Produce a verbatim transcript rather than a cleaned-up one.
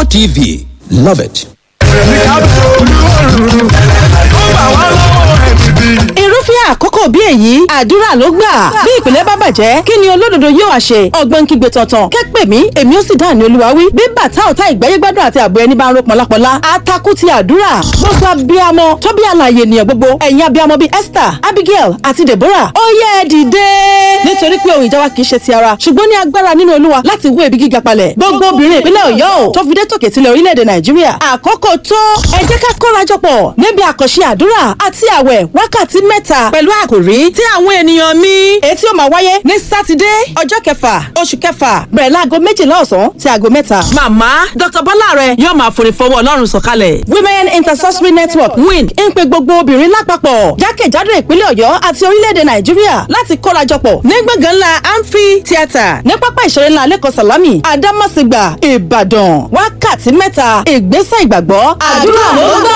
GoTV. Love it. Irúfẹ́ àkókò bí èyí, àdúrà ló gbà. Bí ìpìlẹ̀ bá bàjẹ́, kí ni olódodo yóò wá ṣe? Ọgbọ́n kígbe tọ̀tàn kẹ́pẹ́ mi, èmi ó sì dáhùn ní Olúwa wí. Bí bàtà ọ̀tá ìgbáyégbádùn àti ààbò ẹni bá ń ro pọ̀lápọ̀lá, atakú ti àdúrà. Gbogbo abiyamọ tó bí alààyè ènìyàn gbogbo, ẹ̀yin abiyamọ bíi Esther, Abigail àti Deborah, ó yẹ ẹ dìde, nítorí pé ohun ìjà wa kì í ṣe ti ara, ṣùgbọ́n ní agbára nínú Olúwa láti wó ibi gíga palẹ̀. Gbogbo obìnrin ìpínlẹ̀ Ọ̀yọ́ ò tó fi dé tòkè tilẹ̀ orílẹ̀-èdè Nàìjíríà, àkókò tó, ẹ jẹ́ ká kórajọpọ̀ níbi àkànṣe àdúrà àti àwẹ̀ wákàtí mẹ́ta pẹ̀lú àkòrí tí àwọn ènìyàn mi, èyí tí ó máa wáyé ní Sátidé, ọjọ́ kẹfà oṣù kẹfà, bẹ̀rẹ̀ láago méjìlá ọ̀sán sí aago mẹ́ta. Màmá Dókítà Bọ́láre yóò máa forí fọwọ́ Ọlọ́run sọ̀kalẹ̀. Women Intercessory Network, WIN, ń pe gbogbo obìnrin lápapọ̀ jákèjádò ìpínlẹ̀ Ọ̀yọ́ àti orílẹ̀-èdè Nàìjíríà láti kórajọpọ̀ ní gbọ̀ngàn ńlá Amphi Theatre ní pápá ìṣeré ńlá Lẹ́kọ̀ọ́ Sàlámì, Àdámọ̀sígbà, Ìbàdàn. Wákàtí mẹ́ta, ìgbésẹ̀ ìgbàgbọ́, àdúrà ló gbà.